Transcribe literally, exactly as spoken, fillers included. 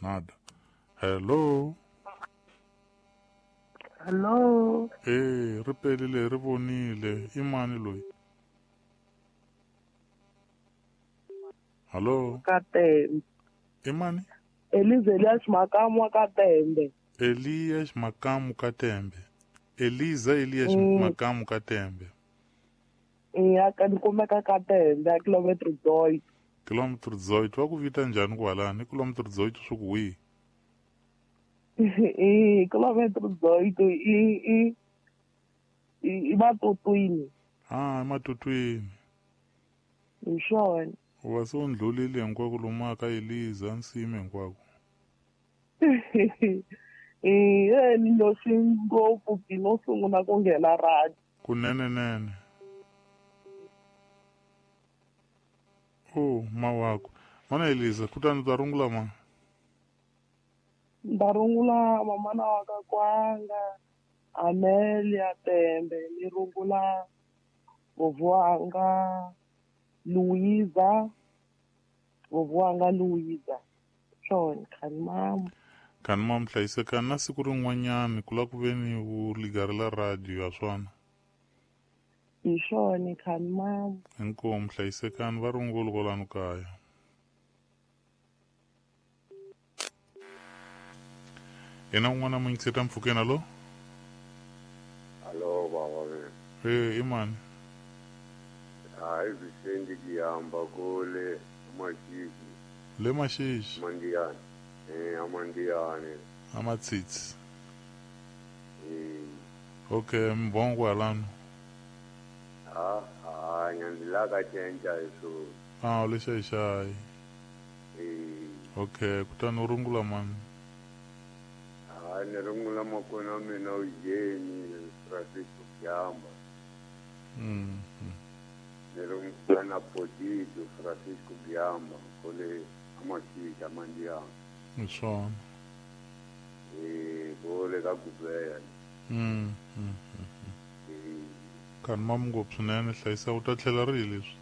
Nada. Hello. Hello. Eh, ri pelile ri vonile. I mani loyi? Hello. Katembe. I mani? Eliza Makamu Katembe. Elias Makamu Katembe. Eliza Elias Mm. Makamu Katembe. Ya ka ni kumeka Katembe a kilometer dezoito. Kilometer dezoito. Va ku vita njhani kwalani? Kilometer dezoito swi ku wihi? Eh, kilometer dezoito i i i Matutwini. Ah, eMatutwini. Hi swona. U va se u ndlulile hinkwako lomu ka Eliza nsimi hinkwako. Eh, ni nyoxi ngopfu ki no sungula ku nghena radio. Kunene nene. Oh, mawako. Mana Eliza, kutani ta rungula ma? Nda rungula mamana wa ka kwanga, Amelia Tembe, ni rungula vovwanga Luiza, vovwanga Luiza. Swona, khani mama. Khani mama hlayisekani na siku rin'wanyani ku la ku ve ni u ligarela radio ya swona. Hi swona, khani mama. Inkomu hlayisekani va rungula kwalano kaya. Yena un'wana mu yingiseta mpfhukeni, alo? Alo baba. Eh, i mani? Hayi Vicente Kiyamba kule Mashiki. Le Mashiki. Mandiyane. Eh, Amandiyane. Amatsitsi. Eh. Okay, mbongo alano. Ah, ah, nyandilaka chenja eso. Ah, le xayi. Eh. Okay, kutani u rungula mani? Ah, ni rungula makona mina Eugene Francisco Kiyamba. Mm. Ni rungula na Potito Francisco Kiyamba kule Amashiki Amandiyane. Hi swona. Eh, kule ka Gubeya. Mm. Mm. Khani mama ngopfu swinene hlayisa u ta tlhela rihi leswi?